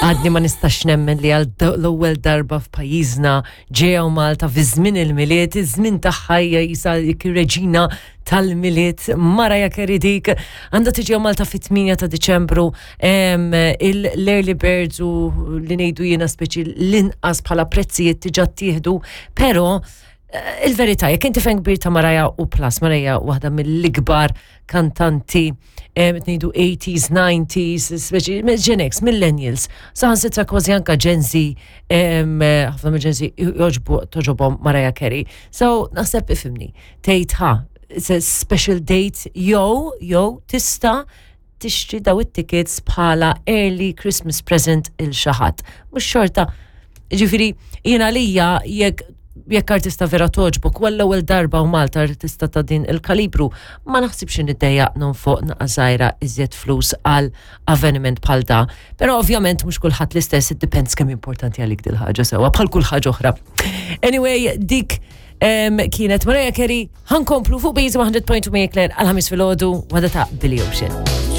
Għadni ma nistax nemmen li għal l-ewwel darba f'pajjiżna ġew Malta fi żmien il-Milied, iż-żmien tagħha hija jisa reġina tal-Milied, Mariah Carey dik, għandha tiġi Malta fit-8 ta' Diċembru, l-early birds u li ngħidu jiena speċi l-inqas bħala prezzijiet diġà ttieħdu, però eh, il-verità, jekk inti fan kbir ta' Mariah u plus, Mariah waħda mill-ikbar kantanti ngħidu 80s, 90s, speċi Gen X, millennials, saħansitra kważi anka Gen Z, ħafna mill Gen Z joġbu toġobhom Mariah Carey. So, naħseb ifimni, tgħid ha, it's a special date, jew, jew tista' tixtri daw it-tickets bħala early Christmas present il xi ħadd. Mhux xorta, ġifieri jiena lija jekk jekk artista vera toġbok, u l-ewwel darba u Malta artista ta' din il-kalibru, ma naħsibx niddejjaq nonfoq naqa' żgħira iżjed flus għal avveniment bħal da. Però ovvjament mhux kulħadd l-istess, it depends kemm importanti għalik dil ħaġa sewwa bħal kull ħaġa oħra. Anyway, dik kienet Mariah Carey, ħankomplu fuq Beats 100.2 Claire għal ħamis filgħodu wada ta' Billy Ocean.